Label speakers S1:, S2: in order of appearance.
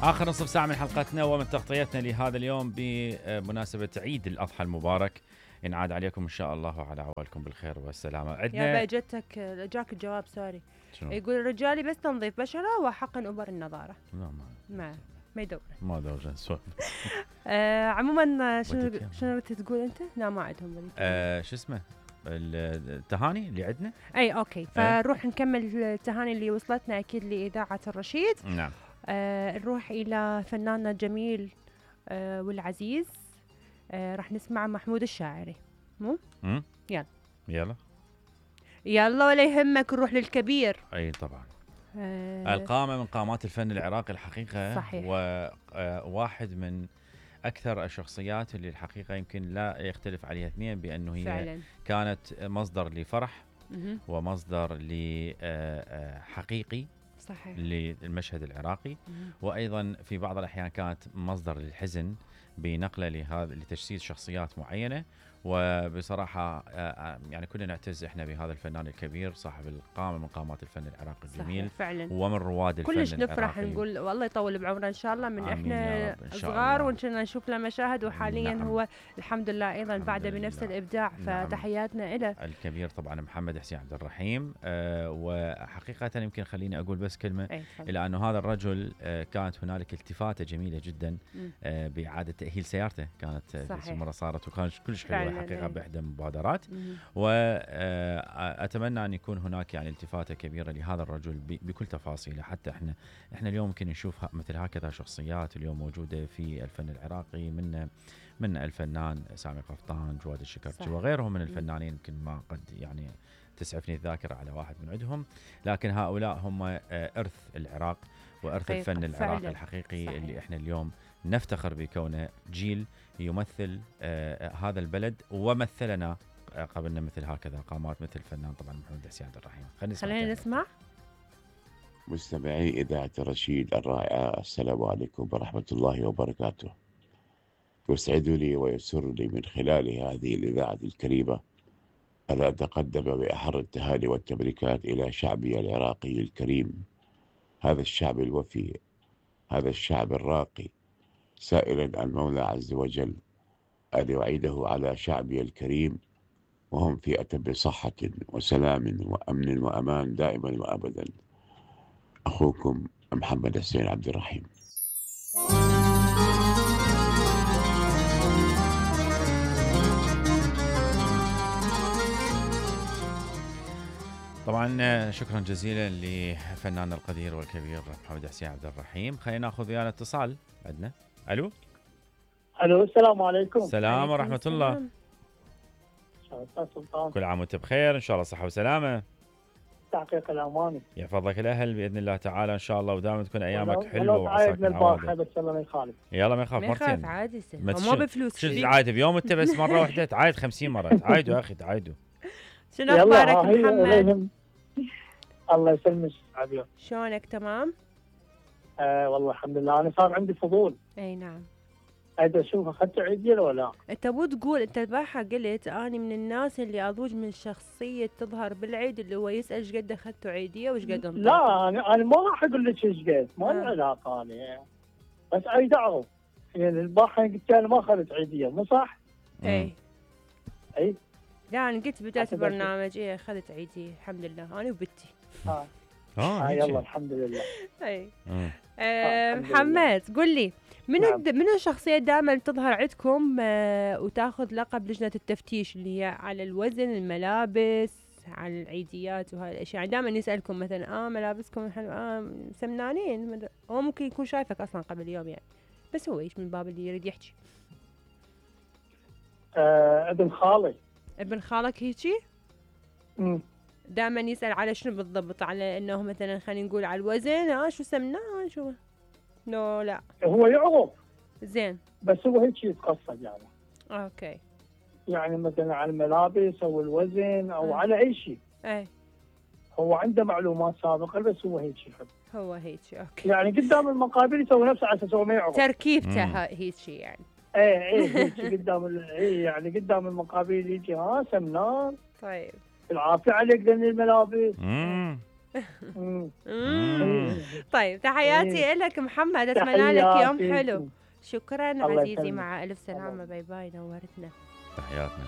S1: آخر نصف ساعة من حلقتنا ومن تغطيتنا لهذا اليوم بمناسبة عيد الأضحى المبارك. ينعاد عليكم إن شاء الله وعلى عوالكم بالخير والسلامة.
S2: عندنا يا جتك جاك الجواب سوري. يقول رجالي بس تنظيف بشرة وحقن أبر النظارة.
S1: لا
S2: ما يدور.
S1: ما دور سوالف.
S2: عموما شنو تقول أنت؟ لا ما عندهم.
S1: شو اسمه التهاني اللي عندنا.
S2: أي أوكي فنروح نكمل التهاني اللي وصلتنا أكيد لإذاعة الرشيد.
S1: نعم.
S2: نروح إلى فناننا الجميل والعزيز. راح نسمع محمود الشاعري. مو؟ يلا ولا يهمك نروح للكبير.
S1: أي طبعا. القامة من قامات الفن العراقي الحقيقة.
S2: صحيح.
S1: وواحد من أكثر الشخصيات اللي الحقيقة يمكن لا يختلف عليها اثنين بأنه هي فعلا كانت مصدر لفرح ومصدر لحقيقي
S2: صحيح
S1: للمشهد العراقي، وأيضا في بعض الأحيان كانت مصدر للحزن بنقله لتجسيد شخصيات معينة. وبصراحة يعني كلنا نعتز احنا بهذا الفنان الكبير صاحب القامة من قامات الفن العراقي الجميل
S2: فعلا.
S1: ومن رواد الفن
S2: كلش نفرح نقول والله يطول بعمره ان شاء الله من احنا صغار وكنا نشوف له مشاهد وحاليا نعم. هو الحمد لله ايضا بعده بنفس الابداع. نعم. فتحياتنا له
S1: الكبير طبعا محمد حسين عبد الرحيم. وحقيقة يمكن خليني اقول بس كلمة الى انه هذا الرجل كانت هنالك التفاتة جميلة جدا بإعادة تأهيل سيارته كانت مرة صارت وكانت كلش حلوة حقيقة بإحدى المبادرات. وأتمنى أن يكون هناك يعني التفاتة كبيرة لهذا الرجل بكل تفاصيله. حتى احنا اليوم ممكن نشوف مثل هكذا شخصيات اليوم موجودة في الفن العراقي من الفنان سامي قفطان، جواد الشكرتي وغيرهم من الفنانين يمكن ما قد يعني تسعفني الذاكرة على واحد من عندهم، لكن هؤلاء هم إرث العراق وإرث الفن العراقي الحقيقي. صحيح. اللي احنا اليوم نفتخر بكونه جيل يمثل هذا البلد ومثلنا قبلنا مثل هكذا قامات مثل الفنان طبعا محمد حسين عبد الرحيم.
S2: خلينا نسمع.
S3: مستمعي إذاعة الرشيد الرائعة، السلام عليكم ورحمة الله وبركاته. يسعد لي ويسر لي من خلال هذه الإذاعة الكريمة أن أتقدم بأحر التهاني والتبريكات إلى شعبي العراقي الكريم، هذا الشعب الوفي، هذا الشعب الراقي، سائلا المولى عز وجل أن يعيده على شعبي الكريم وهم في أتم صحة وسلام وأمن وأمان دائما وأبدا. أخوكم محمد حسين عبد الرحيم.
S1: طبعا شكرا جزيلا لفنان القدير والكبير محمد حسين عبد الرحيم. خلينا ناخذ ويانا اتصال عندنا. الو
S4: السلام عليكم.
S1: السلام ورحمه الله. كل عام وانت بخير ان شاء الله صحه وسلامه.
S4: تحقيق الاماني
S1: يحفظك الاهل باذن الله تعالى ان شاء الله ودائما تكون ايامك حلوه وعساك
S4: البارحه بس الله ما يخالف.
S1: يلا ما يخاف مرتين
S2: عادي مو بفلوس.
S1: شو تعايد بيوم انت بس مره واحده تعايد 50 مره تعايدوا يا اخي تعايدوا.
S2: شنو اخبارك محمد؟
S4: الله يسلمك عافيه.
S2: شلونك تمام؟
S4: والله الحمد لله. انا صار عندي فضول.
S2: اي نعم.
S4: أيضا أشوف أخذت عيدية ولا لا؟
S2: أنت مو تقول أنت البارحة قلت أنا من الناس اللي أضوج من شخصية تظهر بالعيد اللي هو يسأل إيش قد أخذتوا عيدية وإيش قد انطلق.
S4: لا أنا ما راح أقول لك إيش قد، ما لي علاقة أنا. بس أريد أعرف يعني البارحة قلت أنا ما أخذت عيدية مو صح؟
S2: إي لا أنا قلت بداية البرنامج أخذت عيدية الحمد لله أنا وبنتي.
S4: يلا الحمد لله.
S2: اي محمد قل لي منو الشخصية دائما تظهر عندكم وتاخذ لقب لجنة التفتيش اللي هي على الوزن، الملابس، على العيديات وهاي الاشياء؟ يعني دائما يسألكم مثلا ملابسكم سمنانين، هو ممكن يكون شايفك اصلا قبل يوم يعني، بس هو ايش من باب اللي يريد يحكي.
S4: ابن خالي.
S2: ابن خالك هيجي؟ دائما يسأل على شنو بالضبط؟ على انه مثلا خلينا نقول على الوزن شو سمنان شو؟ لا
S4: هو يعرف
S2: زين
S4: بس هو هيك يتقصد يعني.
S2: اوكي
S4: يعني مثلا على الملابس او الوزن او على اي شيء.
S2: اي
S4: هو عنده معلومات سابقه بس هو هيك يحب.
S2: هو هيك اوكي.
S4: يعني قدام المقابل يسوي نفسه على اساس هو ما يعرف.
S2: تركيبته هيك يعني.
S4: ايه هيك قدام يعني قدام المقابل يجي سمنان.
S2: طيب
S4: العافية عليك ذن الملابس.
S2: طيب تحياتي لك محمد، اتمنى لك يوم حلو. شكرا عزيزي، مع الف سلامه، باي باي، نورتنا.
S1: تحياتنا.